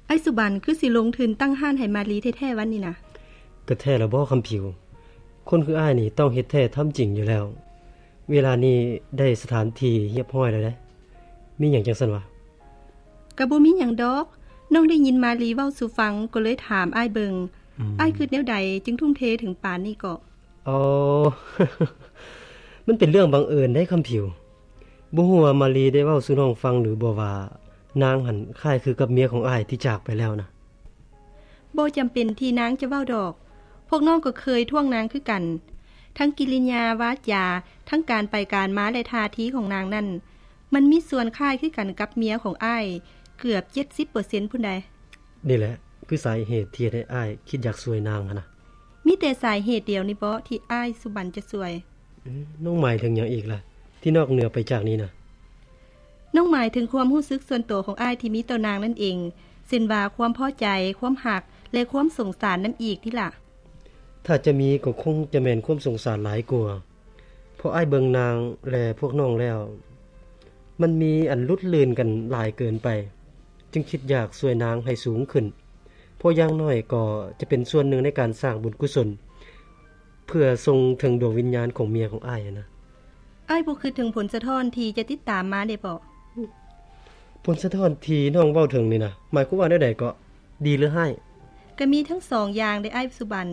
ອ້າຍສຸບັນຄືຊິລົງທຶນຕັ້ງຮ້ານໃຫ້ມາລີແທ້ໆ ຫວານີ້ນະ? ກໍແທ້ລະບໍຄຳຜິວ? ຄົນຄືອ້າຍນີ້ຕ້ອງເຮັດແທ້ທຳຈິງຢູ່ແລ້ວ. ເວລານີ້ໄດ້ສະຖານທີ່ຮຽບຮ້ອຍແລ້ວເດ້. ມີຫຍັງຈັ່ງຊັ້ນຫວາ? ກໍບໍ່ມີຫຍັງດອກ. ນ້ອງໄດ້ຍິນມາລີເວົ້າສູ່ຟັງ ກໍເລີຍຖາມອ້າຍເບິ່ງ. ອືມ. ອ້າຍຄິດແນວໃດຈຶ່ງທຸ່ມເທເຖິງປານນີ້ເກາະ? ອໍ ມັນເປັນເລື່ອງບັງເອີນເດ້ຄຳຜິວ. ບໍ່ຮູ້ວ່າມາລີໄດ້ເວົ້າສູ່ນ້ອງຟັງຫຼືບໍ່ວ່າ ນາງຫັ້ນຄ້າຍຄືກັບເມຍຂອງອ້າຍທີ່ຈາກໄປແລ້ວນະ? ບໍ່ຈຳເປັນທີ່ນາງຈະເວົ້າດອກ. ພວກນ້ອງກໍເຄີຍທ້ວງນາງຄືກັນ. ທັງກິລິຍາວາຈາ, ທັງການໄປການມາ ແລະ ທ່າທີຂອງນາງນັ້ນ, ມັນມີສ່ວນຄ້າຍຄືກັນກັບເມຍຂອງອ້າຍເກືອບເຈັດສິບເປີເຊັນພຸ້ນໃດ໋. ນີ້ແຫຼະ ຄືສາເຫດທີ່ເຮັດໃຫ້ອ້າຍຄິດຢາກຊ່ວຍນາງຫັ້ນນະ. ມີແຕ່ສາເຫດດຽວນີ້ບໍທີ່ອ້າຍສຸບັນຈະຊ່ວຍ? ເອີ ນ້ອງໝາຍເຖິງຫຍັງອີກລະ ທີ່ນອກເໜືອໄປຈາກນີ້ນະ? ນ້ອງໝາຍເຖິງຄວາມຮູ້ສຶກສ່ວນຕົວຂອງອ້າຍທີ່ມີຕໍ່ນາງນັ້ນເອງ, ເຊັ່ນວ່າຄວາມພໍໃຈ, ຄວາມຮັກ ແລະ ຄວາມສົງສານນຳອີກນີ້ລະ. ຖ້າຈະມີກໍຄົງຈະແມ່ນຄວາມສົງສານຫຼາຍກວ່າ, ເພາະອ້າຍເບິ່ງນາງ ແລະ ພວກນ້ອງແລ້ວ ມັນມີອັນຫຼຸດລື່ນກັນຫຼາຍເກີນໄປ, ຈຶ່ງຄິດຢາກຊ່ວຍນາງໃຫ້ສູງຂຶ້ນ, ເພາະຢ່າງໜ້ອຍກໍຈະເປັນສ່ວນໜຶ່ງໃນການສ້າງບຸນກຸສົນ ເພື່ອສົ່ງເຖິງດວງວິນຍານຂອງເມຍຂອງອ້າຍຫັ້ນນະ. ອ້າຍບໍ່ຄິດເຖິງຜົນສະທ້ອນທີ່ຈະຕິດຕາມມາເດເບາະ? ຜົນສະທ້ອນທີ່ນ້ອງເວົ້າເຖິງນີ້ນະ ໝາຍຄວາມວ່າແນວໃດເກາະ? ດີ ຫຼື ຮ້າຍ? ກະມີທັງສອງຢ່າງເດອ້າຍສຸບັນ.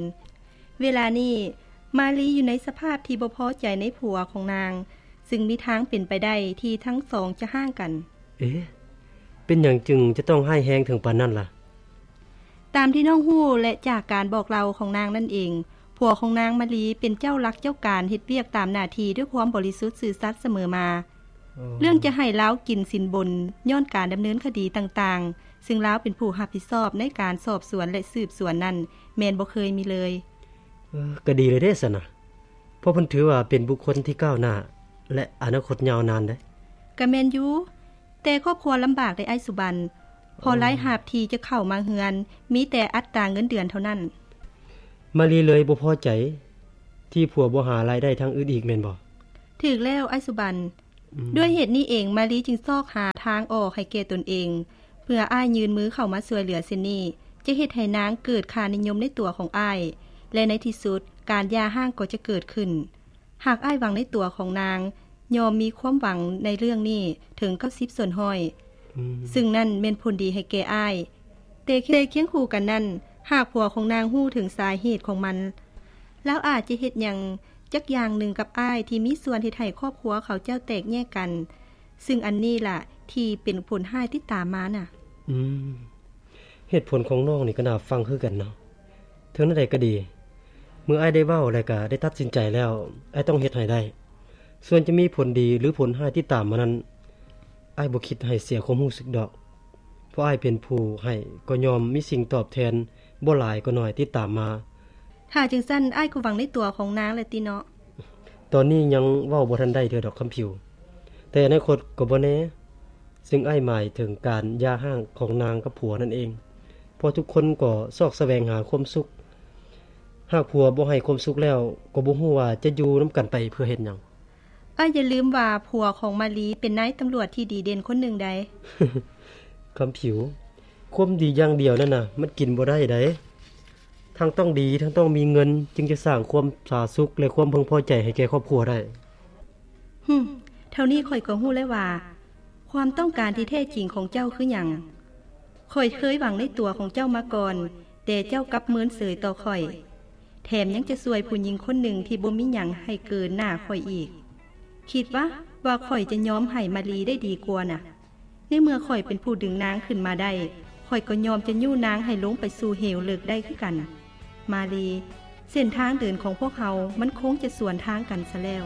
ເວລານີ້ມາລີຢູ່ໃນສະພາບທີ່ບໍ່ພໍໃຈໃນຜົວຂອງນາງ, ຊຶ່ງມີທາງເປັນໄປໄດ້ທີ່ທັງສອງຈະຮ້າງກັນ. ເອ ເປັນຫຍັງຈຶ່ງຈະຕ້ອງຮ້າຍແຮງເຖິງປານນັ້ນລະ? ຕາມທີ່ນ້ອງຮູ້ ແລະ ຈາກການບອກເລົ່າຂອງນາງນັ້ນເອງ, ຜົວຂອງນາງມາລີເປັນເຈົ້າລັກເຈົ້າການ ເຮັດວຽກຕາມໜ້າທີ່ດ້ວຍຄວາມບໍລິສຸດຊື່ສັດສະເໝີມາ. ອໍ ເລື່ອງຈະໃຫ້ລາວກິນສິນບົນຍ້ອນການດຳເນີນຄະດີຕ່າງໆ, ຊຶ່ງລາວເປັນຜູ້ຮັບຜິດຊອບໃນການສອບສວນ ແລະ ສືບສວນນັ້ນ ແມ່ນບໍ່ເຄີຍມີເລີຍ. ເອີ ກໍດີເລີຍເດ້ຊັ້ນນະ, ເພາະເພິ່ນຖືວ່າເປັນບຸກຄົນທີ່ກ້າວໜ້າ ແລະ ອະນາຄົດຍາວນານເດ້. ກະແມ່ນຢູ່, ແຕ່ຄອບຄົວລຳບາກເດ້ອ້າຍສຸບັນ, ເພາະ ອໍ ລາຍຮັບທີ່ຈະເຂົ້າມາເຮືອນ ມີແຕ່ອັດຕາເງິນເດືອນເທົ່ານັ້ນ. ມາລີເລີຍບໍ່ພໍໃຈທີ່ຜົວບໍ່ຫາລາຍໄດ້ທາງອື່ນອີກແມ່ນບໍ່? ຖືກແລ້ວອ້າຍສຸບັນ. ອືມ. ດ້ວຍເຫດນີ້ເອງ ມາລີຈຶ່ງຊອກຫາທາງອອກໃຫ້ແກ່ຕົນເອງ, ເພື່ອອ້າຍຍື່ນມືເຂົ້າມາຊ່ວຍເຫຼືອເຊັ່ນນີ້ ຈະເຮັດໃຫ້ນາງເກີດຄ່ານິຍົມໃນຕົວຂອງອ້າຍ ແລະ ໃນທີ່ສຸດການຢ່າຮ້າງກໍຈະເກີດຂຶ້ນ. ຫາກອ້າຍຫວັງໃນຕົວຂອງນາງ, ຍ່ອມມີຄວາມຫວັງໃນເລື່ອງນີ້ເຖິງເກົ້າສິບສ່ວນຮ້ອຍ, ອືມ. ຊຶ່ງນັ້ນແມ່ນຜົນດີໃຫ້ແກ່ອ້າຍ. ແຕ່ ແຕ່ຄຽງຄູ່ກັນນັ້ນ, ຫາກຜົວຂອງນາງຮູ້ເຖິງສາເຫດຂອງມັນ, ລາວອາດຈະເຮັດຫຍັງຈັກຢ່າງໜຶ່ງກັບອ້າຍທີ່ມີສ່ວນເຮັດໃຫ້ຄອບຄົວເຂົາເຈົ້າແຕກແຍກກັນ, ຊຶ່ງອັນນີ້ລະທີ່ເປັນຜົນຮ້າຍຕິດຕາມມານະ. ອືມ. ເຫດຜົນຂອງນ້ອງນີ້ກໍໜ້າຟັງຄືກັນເນາະ. ເຖິງແນວໃດກໍດີ, ເມື່ອອ້າຍໄດ້ເວົ້າ ແລະ ກໍໄດ້ຕັດສິນໃຈແລ້ວ, ອ້າຍຕ້ອງເຮັດໃຫ້ໄດ້. ສ່ວນຈະມີຜົນດີ ຫຼື ຜົນຮ້າຍຕິດຕາມມານັ້ນ, ອ້າຍບໍ່ຄິດໃຫ້ເສຍຄວາມຮູ້ສຶກດອກ. ເພາະອ້າຍເປັນຜູ້ໃຫ້, ກໍຍ່ອມມີສິ່ງຕອບແທນ ບໍ່ຫຼາຍກໍໜ້ອຍຕິດຕາມມາ. ຖ້າຈັ່ງຊັ້ນ, ອ້າຍກໍຫວັງໃນຕົວຂອງນາງແຫຼະຕິເນາະ? ຕອນນີ້ຍັງເວົ້າບໍ່ທັນໄດ້ເທື່ອດອກຄຳຜິວ, ແຕ່ອະນາຄົດກໍບໍ່ແນ່. ຊຶ່ງອ້າຍໝາຍເຖິງການຢ່າຮ້າງຂອງນາງກັບຜົວນັ້ນເອງ, ເພາະທຸກຄົນກໍຊອກສະແຫວງຫາຄວາມສຸກ. ຫາກຜົວບໍ່ໃຫ້ຄວາມສຸກແລ້ວ, ກໍບໍ່ຮູ້ວ່າຈະຢູ່ນຳກັນໄປເພື່ອເຮັດຫຍັງ. ອ້າຍຢ່າລືມວ່າຜົວຂອງມາລີເປັນນາຍຕຳຫຼວດທີ່ດີເດັ່ນຄົນໜຶ່ງໃດ໋. ຄຳຜິວ, ຄວາມດີຢ່າງດຽວນັ້ນນະ ມັນກິນບໍ່ໄດ້ໃດ໋. ທັງຕ້ອງດີ, ທັງຕ້ອງມີເງິນ, ຈຶ່ງຈະສ້າງຄວາມຜາສຸກ ແລະ ຄວາມເພິ່ງພໍໃຈໃຫ້ແກ່ຄອບຄົວໄດ້. ຫຶ, ເທົ່ານີ້ຂ້ອຍກໍຮູ້ແລ້ວວ່າ ຄວາມຕ້ອງການທີ່ແທ້ຈິງຂອງເຈົ້າຄືຫຍັງ. ຂ້ອຍເຄີຍຫວັງໃນຕົວຂອງເຈົ້າມາກ່ອນ, ແຕ່ເຈົ້າກັບເມີນເສີຍຕໍ່ຂ້ອຍ, ແຖມຍັງຈະຊ່ວຍຜູ້ຍິງຄົນໜຶ່ງທີ່ບໍ່ມີຫຍັງໃຫ້ເກີນໜ້າຂ້ອຍອີກ. ຄິດວະ ວ່າຂ້ອຍຈະຍອມໃຫ້ມາລີໄດ້ດີກວ່ານະ? ໃນເມື່ອຂ້ອຍເປັນຜູ້ດຶງນາງຂຶ້ນມາໄດ້, ຂ້ອຍກໍຍອມຈະຍູ້ນາງໃຫ້ລົງໄປສູ່ເຫວເລິກໄດ້ຄືກັນ. ມາລີ, ເສັ້ນທາງເດີນຂອງພວກເຮົາມັນຄົງຈະສວນທາງກັນຊະແລ້ວ.